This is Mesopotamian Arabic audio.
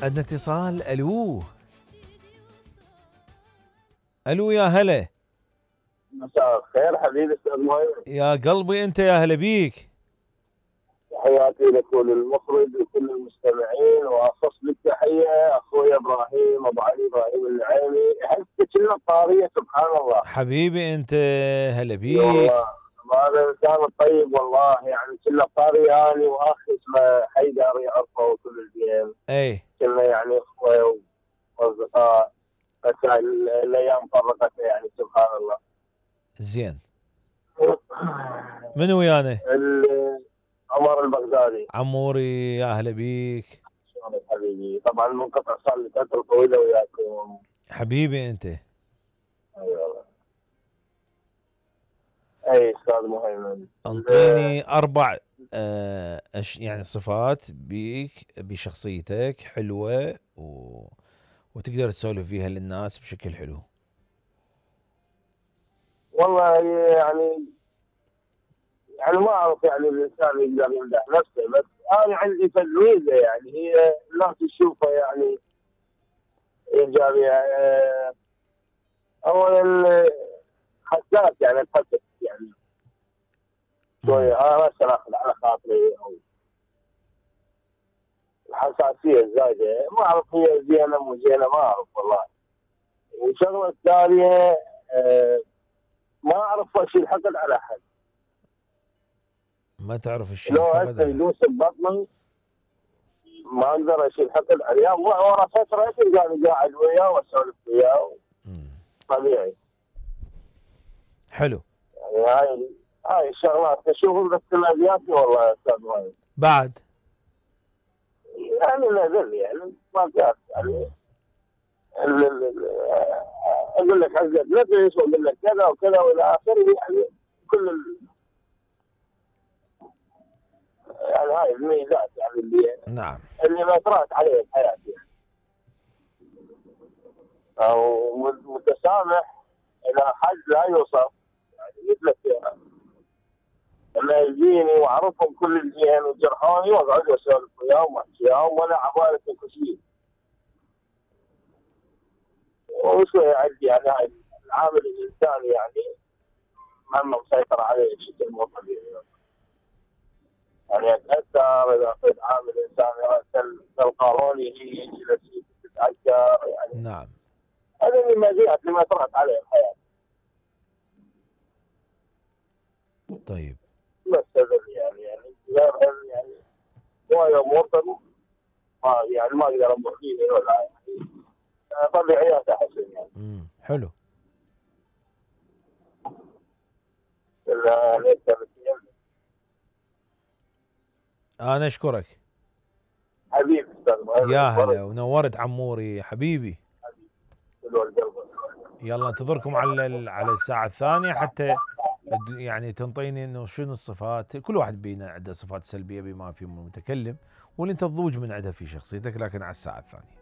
عندنا اتصال. الو الو يا هلا. مساء الخير حبيبي استاذ مهيمن. يا قلبي انت، يا هلا بيك. تحياتي لك وللمخرج وكل المستمعين، واخص بالتحيه اخوي ابراهيم ابو علي ابراهيم النعيمي. حسك كنا الطاريه سبحان الله. حبيبي انت، هلا اي بيك. والله هذا الانسان الطيب والله، يعني كنا الطاريه اني واخي اسمه حيدر يعرفه كل الجيم. اي كنا يعني اخوه واصدقاء، بس الايام فرقتنا يعني سبحان الله. زين. من ويانا؟ عمر البغدادي. عموري يا هلا بيك. شلونك حبيبي؟ طبعا منقطع صار لي فتره طويله وياكم. حبيبي انت. ايوه اي استاذ مهيمن. انطيني 4 يعني صفات بيك بشخصيتك حلوة وتقدر تسولف فيها للناس بشكل حلو. والله يعني ما اعرف، يعني الانسان يقدر يمدح نفسه، بس انا عندي ميزه يعني هي الناس تشوفها يعني ايجابيه. اولا حساس، يعني اتحسس يعني شويه. انا مثلا اخذ على خاطري، او الحساسيه الزايده ما اعرف هي زينه مو زينه، ما اعرف والله. والشغله الثانيه ما اعرف اشيل حقد على احد. ما تعرف الشيء لو الحقد هسه على. يدوس ببطني ما اقدر اشيل حقد عليه. ورا فتره تلقاني قاعد وياه واسولف وياه طبيعي. حلو. يعني هاي الشغلات اشوفها باختلافياتي والله يا استاذ مهند. بعد يعني نزل يعني ما كان يعني اقول لك حقت نفس واقول لك كذا وكذا والى اخره، يعني كل يعني هاي الميزات يعني نعم. اللي ما طرأت عليه بحياتي يعني. او متسامح الى حد لا يوصف، يعني مثل لك لما يجيني واعرفهم كل الجيل وجرحوني واقعد اسولف وياهم واحكي وياهم ولا عبالة شيء. وشوي عندي يعني هاي العامل الانساني يعني مهما مسيطر عليه بشكل مو طبيعي. يعني اتاثر اذا اخذ عامل انساني كالقانون يجي تتاثر يعني. نعم. هذه من المزيات اللي ما طرأت عليه الحياه. طيب. بس هذا يعني غير يعني هواي امور ما يعني ما اقدر امر فيه ولا يعني طبيعيات احسن يعني. حلو. انا اشكرك حبيبي استاذ يا مهند. هلا، ونورت عموري حبيبي. يلا انتظركم على الساعة الثانية حتى يعني تنطيني انه شنو الصفات. كل واحد بينا عنده صفات سلبية بما فيهم المتكلم، واللي انت تضوج من عندها في شخصيتك، لكن على الساعة الثانية.